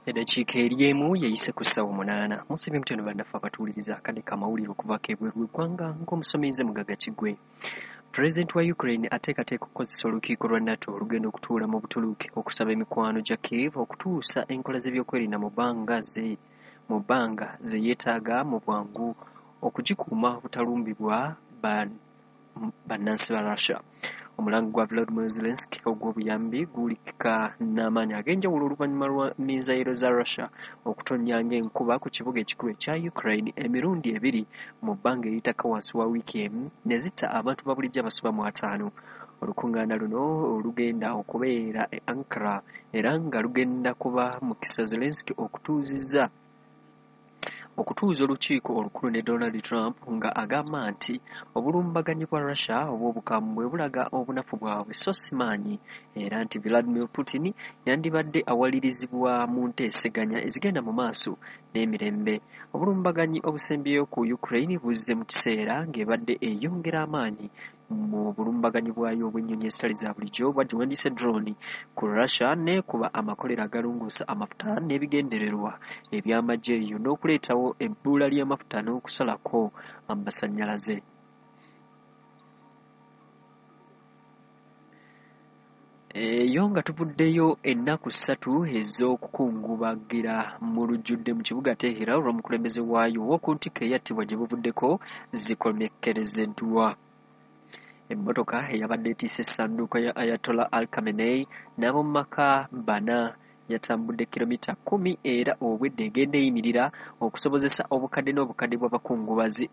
Eddakiika eri emu yeyise ku ssaawa 8. Musibye mutendo bannaffe abatuwuliriza akadde k'amawulire okuvaako ebweru w'eggwanga ng'omusomi nze Mugagga Kiggwe. Pulezidenti wa Ukraine ateekateeka okukozesa olukiiko lwa NATO olugenda okutuula mu Butuluuki okusaba emikwano gya Kiev okutuusa enkola z'ebyokwerinda mu bbanga ze yeetaaga mu bwangu okugikuuma obutalumbibwa bannansi ba Russia. Omulango gwa Volodymyr Zelensky ogw'obuyambi guwulikika n'amaanyi ag'enjawulo oluvannyuma lwa minzayiro za Russia okutonnya ng'enkuba ku kibuga ekikulu ekya Ukraine emirundi ebiri mu bbanga eritakka wansi wa wiiki emu ne zitta abantu ba bulijjo abasoba mu 50. Olukuŋŋaana luno olugenda okubeera e Ankara era nga lugenda kuba mukisa Zelensky okutuuza olukiiko olukulu ne Donald Trump nga agamba nti obulumbaganyi bwa Russia obw'obukambwe bulaga obunafu bwabwe so si maanyi, era nti Vladimir Putin yandibadde awalirizibwa mu nteeseganya ezigenda mu maaso n'emirembe. Obulumbaganyi obusembyeyo ku Ukraine buzze mu kiseera ng'ebadde eyongera amaanyi mu bulumbaganyi bwayo obw'ennyonyi ezitali za bulijjo bwagiwandiise drone ku Russia n'ekuba amakolero agalongoosa amafuta n'ebigendererwa eby'amagye eyo n'okuleetawo ebbula ly'amafuta n'okusalako amasannyalaze. Eyo nga tuvuddeyo ennaku 3 ez'okukungubagira mu lujjudde mu kibuga Tehran olw'omukulembeze waayo ow'oku ntikko eyattibwa gye buvuddeko zikomekkerezeddwa. Emmotoka eyabadde etiise essanduuko ya Ayatollah Ali Khamenei n'ab'omu maka bana yatambudde kilomita 10 era obwedda egenda eyimirira okusobozesa obukadde n'obukadde bw'abakungubazi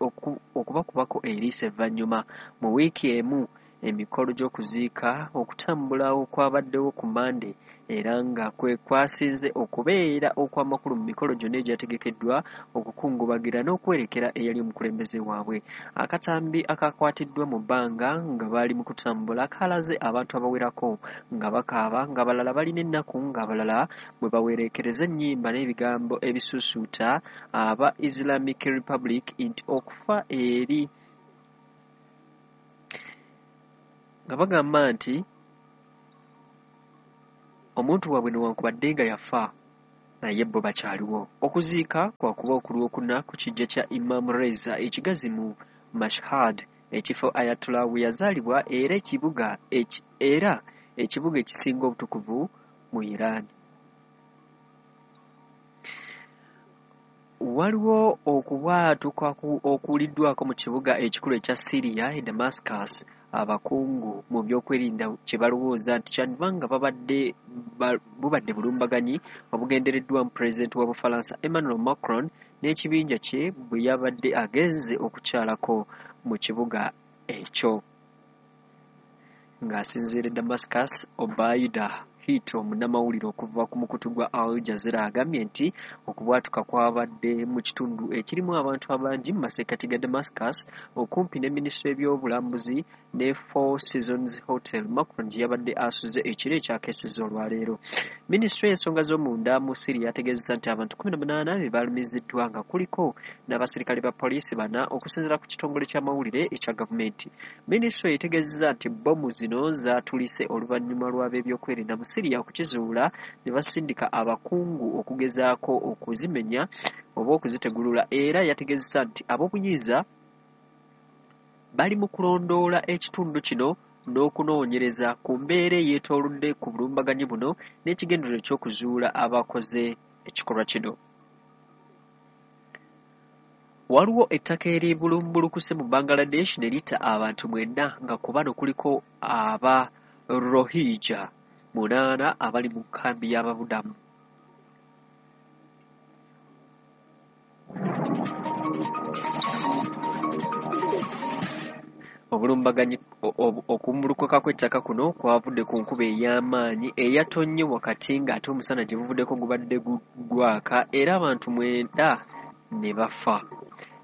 okubakubako eriiso evvannyuma. Mu wiiki emu emikolo gy'okuziika okutambula okwabaddewo ku Mmande era nga kwe kwasinze okubeera okw'amakulu mu mikolo gyonna egyategekeddwa okukungubagira n'okwerekera eyali omukulembeze waabwe. Akatambi akakwatiddwa mu bbanga nga baali mu kutambula kalaze abantu abawerako nga bakaaba, ng'abalala balina ennaku, ng'abalala bwe bawereekereza ennyimba n'ebigambo ebisuusuuta aba Islamic Republic nti okufa eri nga bagamba nti omuntu waabwe newankubadde nga yafa naye bo bakyaliwo. Okuziika kwakuba okulwokuna ku kijja kya Imam Reza ekigazi mu Mashhad, ekifo Ayatollah we yazaalibwa era ekibuga ekisinga obutukuvu mu Iran. Waliwo okubwatuka okuwuliddwako mu kibuga ekikulu ekya Syria e Damascus, abakungu mu byokwerinda kye balowooza nti kyandiba nga bubadde bulumbaganyi obugendereddwamu pulezidenti wa Bufalansa Emmanuel Macron n'ekibinja kye bwe yabadde agenze okukyalako mu kibuga ekyo. Ng'asinziira e Damascus, Obaida Hito munnamawulire okuva ku mukutu gwa Al Jazeera agambye nti okubwatuka kwabadde mu kitundu ekirimu abantu abangi mu masekkati ga Damascus okumpi ne minisitule y'ebyobulambuzi ne Four Seasons Hotel Macron gye yabadde asuze ekiro ekyakeesezza olwaleero. Minisitule y'ensonga z'omunda mu Syria yategeezezza nti abantu 18 be balumiziddwa nga kuliko n'abaserikale ba poliisi 4 okusinziira ku kitongole ky'amawulire ekya gavumenti. Minisitule etegeezezza nti bbomu zino zaatulise oluvannyuma lw'ab'ebyokwerinda mu Syria okukizuula ne basindika abakungu okugezaako okuzimenya oba okuzitegulula, era yategeezezza nti ab'obuyinza bali mu kulondoola ekitundu kino n'okunoonyereza ku mbeera eyeetoolodde ku bulumbaganyi buno n'ekigendererwa eky'okuzuula abakoze ekikolwa kino. Waliwo ettaka eribulumbulukuse mu Bangladesh ne litta abantu 9 nga ku bano kuliko aba Rohingya 8 abali mu nkambi y'ababudamu. Obulumbaganyi okumbulukuka kw'ettaka kuno kwavudde ku nkuba ey'amaanyi eyatonnye wakati ng'ate omusana gye buvuddeko gubadde gwaka era abantu 9 ne bafa.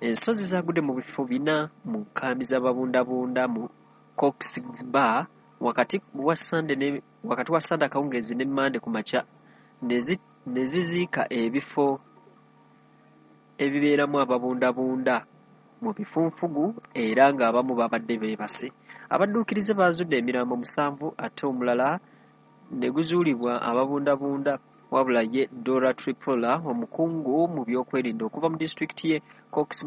Ensozi zaagudde mu bifo 4 mu nkambi z'ababundabunda mu Cox's Bazar wakati wa Ssande akawungeezi ne Mmande ku makya ne ziziika ebifo ebibeeramu ababundabunda mu bifunfugu era ng'abamu babadde beebase. Abadduukirize baazudde emirambo 7 ate omulala ne guzuulibwa ababundabunda Wabula ye Dora Tripura, omukungu mu byokwerinda okuva mu disitulikiti ye Cox's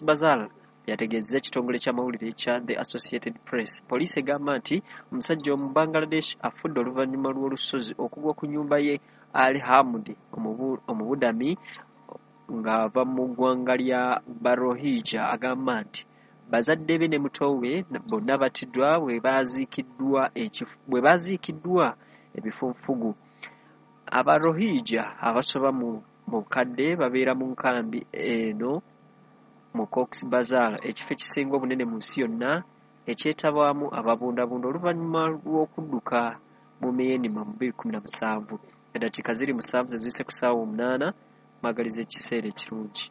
Bazar, yategeezezza ekitongole ky'amawulire ekya The Associated Press. Poliisi egamba nti omusajja omu Bangladesh afudde oluvannyuma lw'olusozi okugwa ku nnyumba ye Ali Hamud, omubudami ng'ava mu ggwanga lya Barohija. Agamba nti bazadde be ne muto we bonna battiddwa bwe baaziikiddwa ebifunfugu. Abarohija abasoba mu bukadde babeera mu nkambi eno mu Cox's Bazar, ekifo ekisinga obunene mu nsi yonna ekyetabwamu ababundabunda oluvannyuma lw'okudduka mu Myanmar mu 2017. Eddakiika ziri 7 ze ziyise ku ssaawa 8, mwagaliza ekiseera ekirungi.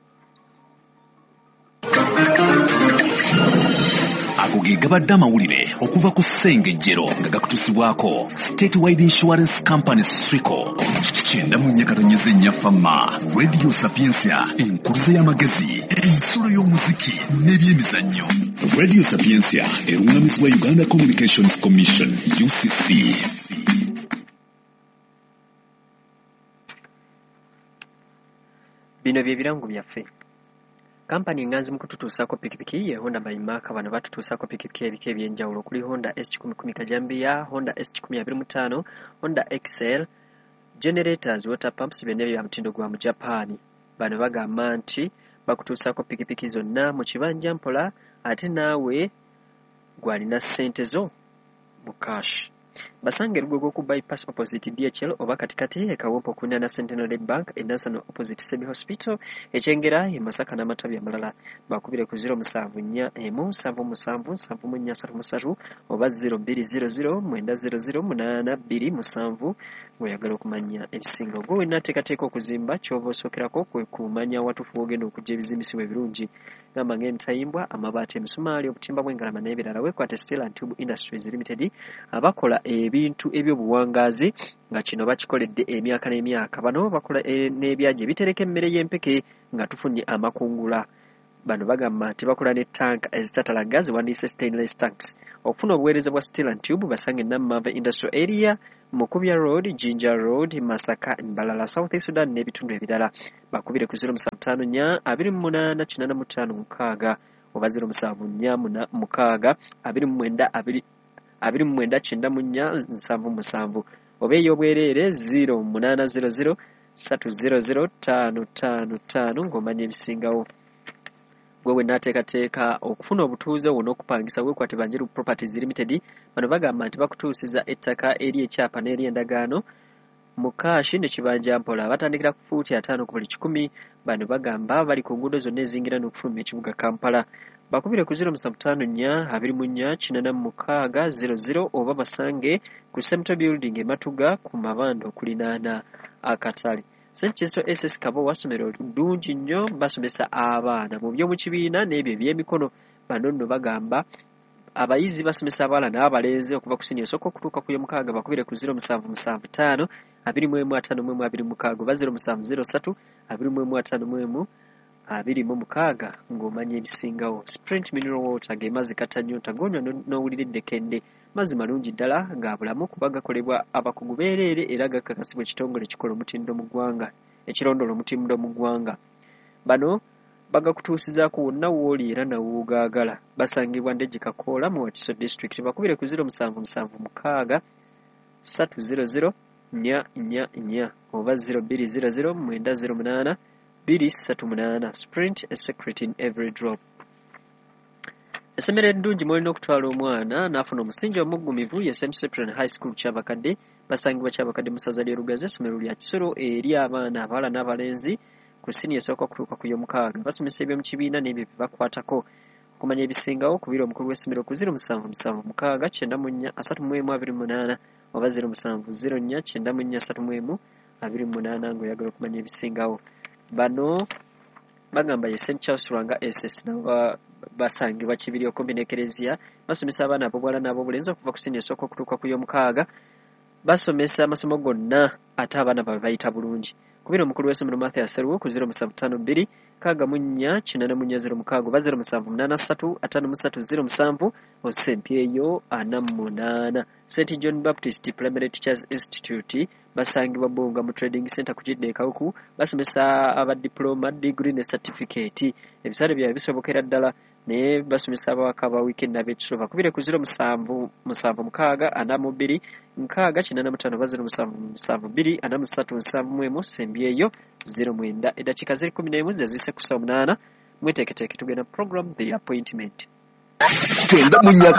Ago ge gabadde amawulire okuva ku Ssengejjero nga gakutuusibwako State Wide Insurance Company SWICO. 94.4 Fama Radio Sapientia, enkuluze y'amagezi, ensulo y'omuziki n'ebyemizannyo. Radio Sapientia erungamizibwa Uganda Communications Commission UCC. Bino bye birango byaffe. Kampani enganzi mu kututuusaako pikipiki ye Honda by Mark. Bano batutuusaako pikipiki ebika eby'enjawulo okuli Honda S110 Kajambiya, Honda S125, Honda XL, generators, water pumps, byonna bya mutindo gwa mu Japan. Bano bagamba nti bakutuusaako pikipiki zonna mu kibanja mpola, ate naawe gw'alina ssente zo mu cash. Basange Lugogo ku bypass opposite DHL oba katikati e Kawempe okuliraana Centenary Bank e Nansana opposite Sebi Hospital, Ekyengera e Masaka n'amatabi amalala. Bakubire ku 0741 77 7433 oba 0200 900 827 ng'oyagala okumanya ebisinga. Gwe wenna ateekateeka okuzimba, ky'oba osookerako kwe kumanya watuufu w'ogenda okuggya ebizimbisibwa ebirungi, gamba ng'emitayimbwa, amabaati, emisumaali, obutimba bw'engalama n'ebirala. Weekwate Steel and Tube Industries Limited abakola ebintu ebyobuwangaazi nga kino bakikoledde emyaka n'emyaka. Bano bakola n'ebyagi ebitereka emmere y'empeke nga tufunye amakungula. Bano bagamba nti bakola ne tanka ezitatalaga ziwandiise stainless tanks. Okufuna obuweereza bwa Steel and Tube basange Nammava Industrial Area, Mukubya Road, Jinja Road, Masaka, Mbalala, South Sudan n'ebitundu ebirala. Bakubire ku 0754 28 85 6 oba 0746 29 29 94 77 oba ey'obwereere 0800 300 555 ng'omanya ebisingawo. Gwe wenna ateekateeka okufuna obutuuze wo n'okupangisa, weekwate Banjiru Properties Limited. Bano bagamba nti bakutuusiza ettaka eri ekyapa n'eri endagaano mu kaashi ne kibanja mpola. Batandikira ku fuuti 50 ku buli 100. Bano bagamba bali ku nguudo zonna ezingira n'okufuluma ekibuga Kampala. Bakubire ku 0754 24 86 00 oba basange ku Semto Building e Matuga ku Mabanda okulinaana akatale. St. Kizito SS Kabowa ssomero ddungi nnyo, basomesa abaana mu by'omu kibiina n'ebyo eby'emikono. Bano nno bagamba abayizi basomesa abawala n'abalenzi okuva ku siniya esooka okutuuka ku y'omukaaga. Bakubire ku 0775 21 51 26 oba 0703 21 51 26 ng'omanya ebisingawo. Sprint Mineral Water ge mazzi katanyonta gonywa n'owulira eddekende. Mazzi malungi ddala ga bulamu kuba gakolebwa abakugu beereere era gakakasibwa ekitongole ekikola omutindo mu ggwanga, ekirondoola omutindo mu ggwanga. Bano bagakutuusizaako wonna w'oli era nawoogaagala. Basangibwa Ndejje Kakoola mu Wakiso District. Bakubire ku 0776 300 444 oba 0200 908 238. Sprint, a secret in every drop. Essomero eddungi mw'olina okutwala omwana n'afuna omusingi omuggumivu ye St. Cyprian High School Kyabakadde. Basangibwa Kyabakadde mu ssaza ly'e Lugazi. Essomero lya kisolo eri abaana abawala n'abalenzi ku siniya esooka okutuuka ku y'omukaaga. Basomesa eby'omu kibiina n'ebyo bye bakwatako. Okumanya ebisingawo kubira omukulu w'essomero ku 0776 94 31 28 oba 0704 94 31 28 ng'oyagala okumanya ebisingawo. Bano bagamba ye St. Charles Lwanga SS, nabo basangibwa Kibiri okumpi n'Ekereziya. Basomesa abaana ab'obuwala n'ab'obulenzi okuva ku siniya esooka okutuuka ku y'omukaaga. Basomesa amasomo gonna ate abaana babe bayita bulungi. Kubira omukulu w'essomero Mathias Sseruwo ku 0752 64 84 06 oba 0783 53 07 osempyeyo 48. St John Baptist Primary Teachers Institute basangibwa Bbunga mu Trading Center ku Kidda e Kawuku. Basomesa aba diploma, degree ne certificate. Ebisale byabwe bisobokera ddala naye basomesa abawaka aba weekend n'ab'ekisulo. Bakubire ku 07 76 42 60 85 oba 07 72 43 71 sembyeyo 09. Eddakiika ziri 11 ze ziyise ku ssaawa 8. Mweteeketeeke tugenda program The Appointment. Kyenda mu nnya.